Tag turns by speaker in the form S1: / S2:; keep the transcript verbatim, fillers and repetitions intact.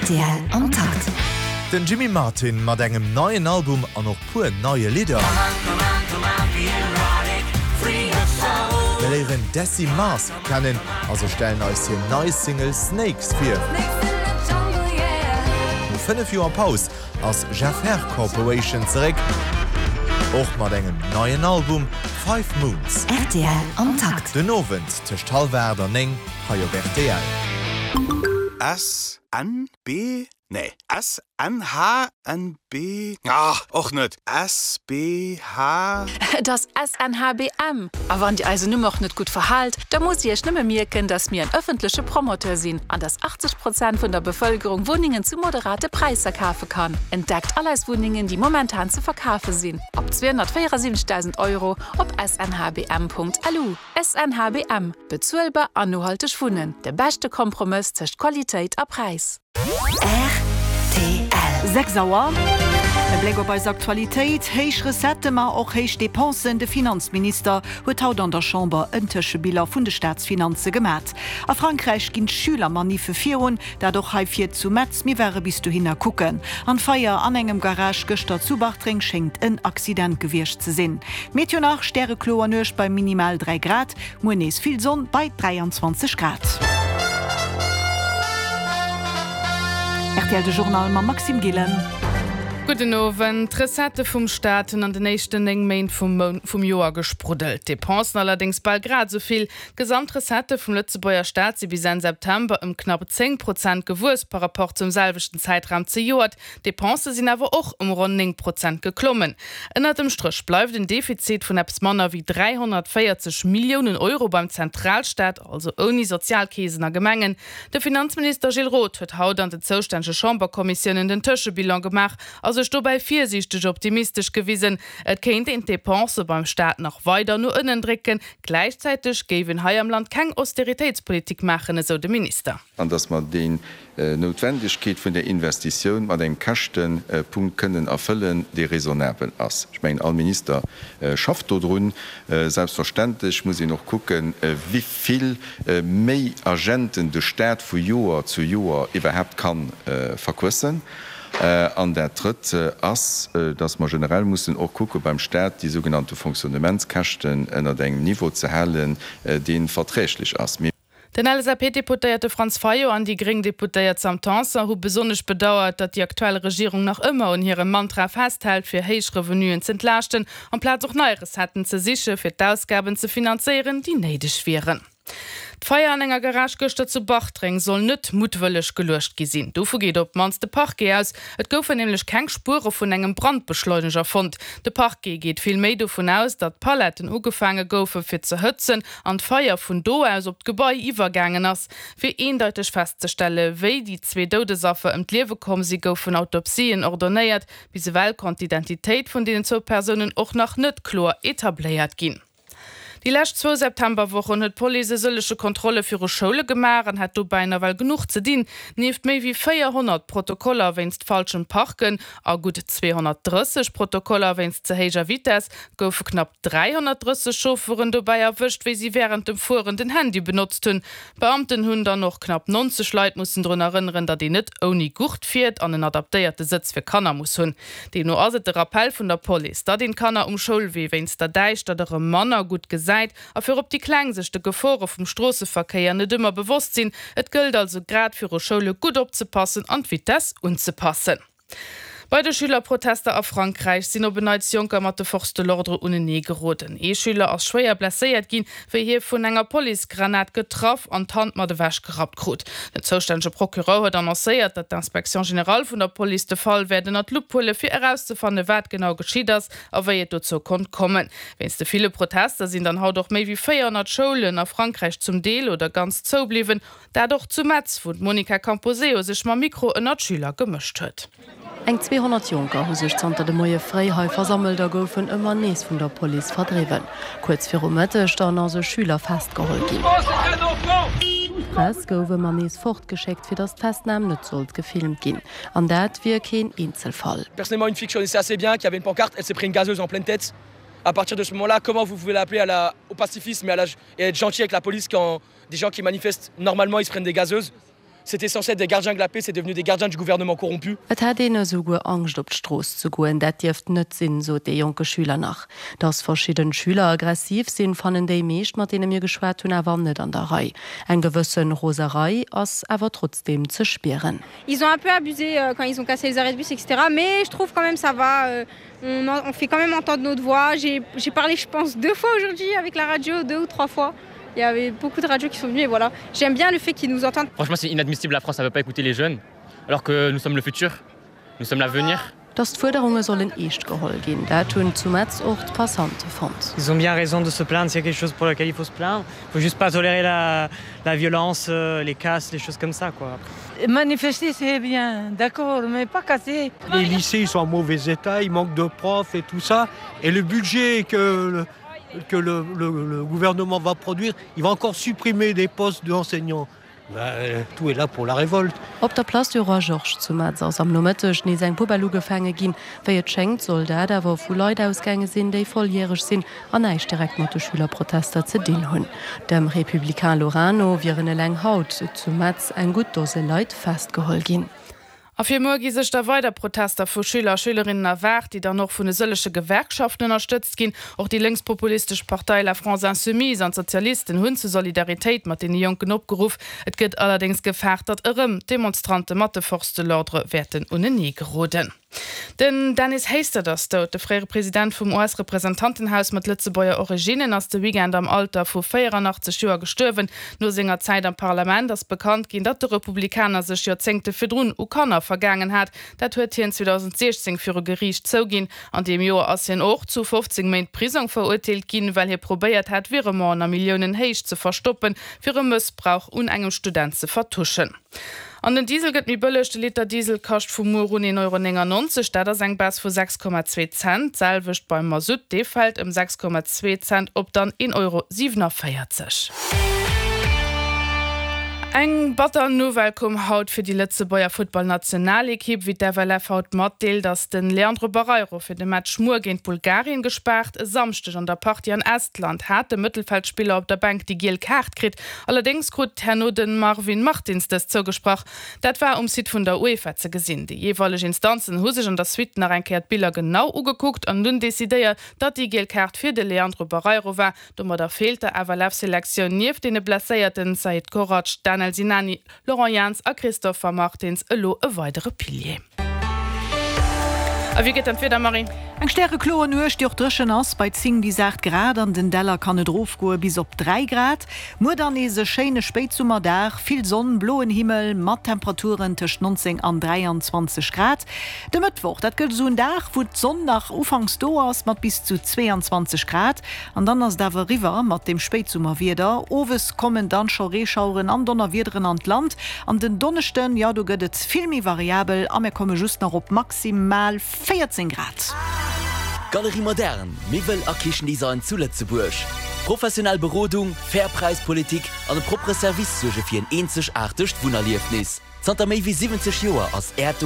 S1: Rtl am Takt.
S2: Den Jimmy Martin mat engem neien Album an och puer neie Lidder. Mir léieren d'Dessi Mask kennen a se stellen eis hir nei Single Snakes vir. No fënnef Joer Paus ass Jeff Herr Corporation zeréck, och mat engem neien Album, Five Moons.
S1: Rtl am Takt.
S2: Den Owend tëscht hallwer aacht an néng hei op rtl.
S3: S N B nee S N H N B ah, och net S B H
S4: Et ass S N H B M. A wann Dir eisen Numm och net gutt verhaalt, da musst Dir Iech nëmme mierken, dass mir en ëffentleche Promoteur sinn an dass achtzeg Prozent vun der Bevëlkerung Wunnengen zu moderate Präisser kafe kann. Entdeckt all eis Wunnengen, déi momentan ze verkafe sinn, ab zweehonnertvéierasiwwenzegdausend Euro op S N H B M Punkt L U. S N H B M, Bezuelbar an nohalteg Wunnen, de beschte Kompromëss tëscht Qualitéit a Präis.
S1: Rtl.
S5: Sechs Auer. E Bléck op eis Aktualitéit, Héich Recettë ma och héich Depensen, De Finanzminister huet haut an der Chamber en Tëschebilan vun de Staatsfinanze gemat. A Frankräich ginn d'Schülermaniffe virun, dat och hei vir zu Metz. Mir ware bis dohinner kucken. An d'Feier an engem Garage gëschter zu Bartreng schéngt en Accident gewiescht ze sinn. D'Meteo nach, Stärekloer Nuecht bei minimal dräi Grad, muer nees vill Sonn bei dräianzwanzeg Grad. Rtl de Journal mam Maxime Gillen.
S6: Gudden Owend. D'Recettë vum Staat hunn an den éischten néng Méint vum vum Joer gespruddelt. D'Depensen allerdéngs bal grad esou vill. D'Gesamtrecettë vum Lëtzebuerger Staat si bis Enn September ëm knapp zéng Prozent gewuess par rapport zum selwechten Zäitraum zejoert. D'Depensë sinn awer och ëm ronn néng Prozent geklommen. Ënnert dem Stréch bleift en Defizit vun eppes manner wéi dräihonnertvéierzeg Milliounen Euro beim Zentralstaat, also ouni Sozialkeesen a Gemengen. De Finanzminister Gilles Roth huet haut an den zoustännege Chamberkommissiounen den Tëschebilan gemaach a sech dobäi virsiichteg optimistesch gewisen. Et kéint een d'Depensë beim Staat nach weider no ënnen drécken, gläichzäiteg géif een hei am Land keng Austeritéitspolitik maachen, esou de Minister.
S7: An dass mer déi Noutwendegkeet vun där Investitioun mat engem Käschtepunkt kënnen erfëllen, dee raisonnabel ass. Ech mengen, all Minister schafft dodrun. Selbstverständlech muss een och kucken, wéi vill méi Agenten de Staat vu Joer zu Joer iwwerhaapt ka verquëssen. An dat Drëtt ass, dass mer generell mussen och kucke beim Staat, déi sougenannte Fonctionnementskäschten ënnert engem Niveau ze halen, dee verträglech ass.
S6: Den L S A P-Deputéierte Franz Fayot an déi gréng Deputéiert Sam Tanson hu besonnesch bedauert, datt déi aktuell Regierung nach ëmmer un hirem Mantra festhält, fir héich Revenuen z'entlaaschten, amplaz och nei Recetten ze siche fir d'Ausgaben ze finanzéieren, déi néideg wieren. D'Feier an enger Garage gëschter zu Bartreng soll net muttwëlleg geluecht gi sinn. Dovu geet op d'mannst de Parquet aus. Et goufen nämlech keng Spuere vun engem Brandbeschleuneger fonnt. De Parquet geet vill méi dovun aus, datt d'Paletten ugefaange goufe fir ze hëtzen an d'Feier vun do aus op d'Gebai iwwergaangen ass. Fir eendeiteg festzestelle wéi déi zwee Doudesaffer ëm d'Liewe komm si, goufen Autopsien ordonéiert. Bis ewell konnt d'Identitéit vun deenen zwou Persounen och nach net kloer etabléiert ginn. Déi lescht zwou Septemberwochen huet d'Police e sëllege Kontrolle viru Schoule gemaach an hat dobäi nawell genuch ze dinn. Nieft méi wéi véierhonnert Protokoller wéinst falschem Parken a gutt zweehonnertdrësseg Protokoller wéinst ze héijer Vitess goufe knapp dräihonnertdrësseg Chauffeuren dobäi erwëscht, wéi si wärend dem Fueren den Handy benotzt hunn. D'Beamten hunn dann och knapp nonzeg Leit mussen drun erënneren, datt een net ouni Gurt fiert an en adaptéierte Sëtz fir Kanner muss hunn. Deemno ass et de Rappell vun der Police, datt een d'Kanner um Schoulwee wéinst der Däischtert erëm manner gutt gesäit a virop déi Kleng sech de Gefore vum Stroosseverkéier net ëmmer bewosst sinn. Et gëllt also grad viru Schoule gutt opzepassen an d'Vitess unzepassen. Bei de Schülerprotester a Frankräich sinn op en Neits Jonker mat de Forces de l'ordre unenee geroden. Ee Schüler ass schwéier blesséiert ginn, wéi hie vun enger Policegranat getraff an d'Hand mat ewech gerappt krut. Den zoustännege Procureur huet annoncéiert, datt d'Inspection générale vun der Police de Fall wäert ënner d'Lupp huele fir erauszefanne wat genau geschitt ass a wéi et dozou konnt kommen. Wéinst de ville Protester sinn dann haut och méi wéi véierhonnert Schoulen a Frankräich zum Deel oder ganz zoubliwwen. Dat och zu Metz, wou d'Monica Camposeo sech mam Mikro ënner d'Schüler gemëscht huet.
S8: Eng zweehonnert Jonker hu sech zanter de Moie fréi hei versammelt a goufen ëmmer nees vun der Police verdriwwen. Kuerz viru Mëtteg dann ass e Schüler festgeholl ginn. D'Press gouf ëmmer nees fortgeschéckt, fir datt d'Festnam net sollt gefilmt ginn. An dat wier keen Eenzelfall.
S9: Personnellement, une fille que je connaissais assez bien, qui avait une pancarte, elle s'est pris une gazeuse en pleine tête. À partir de ce moment-là, comment vous pouvez l'appeler à la, au pacifisme et, à la, et être gentil avec la police quand des gens qui manifestent normalement, ils se prennent des gazeuses? C'était censé être des gardiens de la paix, c'est devenu des gardiens du gouvernement corrompu.
S8: Et hätt een esouguer Angscht op d'Strooss ze goen, dat dierft net sinn, sot dee jonke Schüler nach. Dass verschidden Schüler aggressiv sinn, fannen déi meescht, mat deene mir geschwat hunn, awer net an der Rei. Eng gewësse Roserei ass awer trotzdeem ze spieren.
S10: Ils ont un peu abusé quand ils ont cassé les arrêts de bus etc mais je trouve quand même ça va, on on fait quand même entendre notre voix. J'ai j'ai parlé je pense deux fois aujourd'hui avec la radio, deux ou trois fois. Il y avait beaucoup de radios qui sont venues et voilà. J'aime bien le fait qu'ils nous entendent.
S11: Franchement c'est inadmissible la France elle veut pas écouter les jeunes alors que nous sommes le futur, nous sommes l'avenir.
S8: Dass d'Fuerderunge sollen eescht geholl ginn, dat hunn zu Metz och d'Passante fonnt.
S12: Ils ont bien raison de se plaindre s'il y a quelque chose pour lequel il faut se plaindre. Il faut juste pas tolérer la, la violence, les casses, les choses comme ça quoi.
S13: Manifester c'est bien, d'accord, mais pas casser.
S14: Les lycées ils sont en mauvais état, il manque de profs et tout ça et le budget que le, que le, le, le gouvernement va produire, il va encore supprimer des postes d'enseignants. Ben, tout est là pour la révolte.
S8: Op der Place du Roi Georges zu Metz ass am Nomëtteg nees eng Poubelle ugefaange ginn. Wéi et schéngt, soll dat awer vu Leit ausgaange sinn, déi volljäreg sinn an näischt direkt mat de Schülerprotester ze dinn hunn. Dem Républicain Lorrain no wieren eleng haut zu Metz eng gutt Dose Leit festgeholl ginn.
S6: A fir muer gi sech da weider Protester vu Schüler a Schülerinnen erwaart, déi dann och vun e sëllege Gewerkschaften ënnerstëtzt ginn. Och déi lénkspopulistesch Partei La France Insoumise an d'Sozialisten hunn zu Solidaritéit mat deene Jonken opgeruff. Et gëtt allerdéngs gefaart, datt erëm Demonstrante mat de Forces de l'ordre wäerten unenee geroden. Den Dennis Hastert ass dout. De fréiere President vum US-Representantenhaus mat Lëtzebuerger Originnen ass de Weekend am Alter vu véierannachtzeg Joer gestuerwen. No senger Zäit am Parlament ass bekannt ginn, datt de Republikaner sech Joerzéngte virdrun u Kanner vergaangen hat. Dat huet hien zweedausendsiechzéng viru Geriicht zouginn. An deem Joer ass hien och zu fofzéng Méint Prisong verurteelt ginn, well hie probéiert hat, Virementen a Milliounenhéicht ze verstoppen, fir e Mëssbrauch un engem Student ze vertuschen. An den Diesel gëtt méi bëlleg, De Liter Diesel kascht vu muer un een Euro néngannonzeg, dat ass eng Baisse vu sechs Komma zwee Cent. D'selwecht beim Masutt, dee fält ëm sechs Komma zwee Cent op dann een Euro siewenavéierzeg. Eng batter Nouvelle koum haut fir déi Lëtzebuerger Futtballnationalekipp. Wéi d'F L F haut matdeelt, ass de Leandro Barreiro fir de Match muer géint Bulgarien gespaart. E Samschdeg an der Partie an Estland hat de Mëttelfeldspiller op der Bänk déi giel Kaart kritt. Allerdéngs krut herno de Marvin Martins dës zougesprach. Dat war um Site vun der UEFA ze gesinn. Déi jeeweileg Instanzen hu sech an der Suite nach eng Kéier d'Biller genau ugekuckt an dunn decidéiert, datt déi giel Kaart fir de Leandro Barreiro war. Domadder feelt der F L F-Selektioun nieft deene blesséierten Said Korac, Danel Sinani, Laurent Jans a Christopher Martins elo e weidere Pilier. A wéi gëtt dann d'Wieder, Marie?
S5: Eng stärekloer Nuecht, déi och dréchen ass, bei zéng bis aacht Grad, an den Däller kann et erofgoe bis op dräi Grad. Muer dann nees e schéine Spéitsummerdag, vill Sonn, bloen Himmel mat Temperaturen tëscht nonzéng an dräianzwanzeg Grad. De Mëttwoch, dat gëtt esou en Dag, wou d'Sonn nach ufanks do ass mat bis zu zweeanzwanzeg Grad, an dann ass et awer eriwwer mat dem Spéitsummerwieder. Owes kommen dann scho Reeschaueren an Donnerwiederen an d'Land an den Donneschden, jo do gëtt et vill méi variabel a mir komme just nach op maximal véierzéng Grad.
S15: Galerie Moderne, Miwwel a Kichendesign zu Lëtzebuerg. Professionell Berodung, fair Präispolitik an e proppere Service suerge fir en eenzegaartegt Wunnerliefnis. Zanter méi wéi siwwenzeg Joer ass Äert.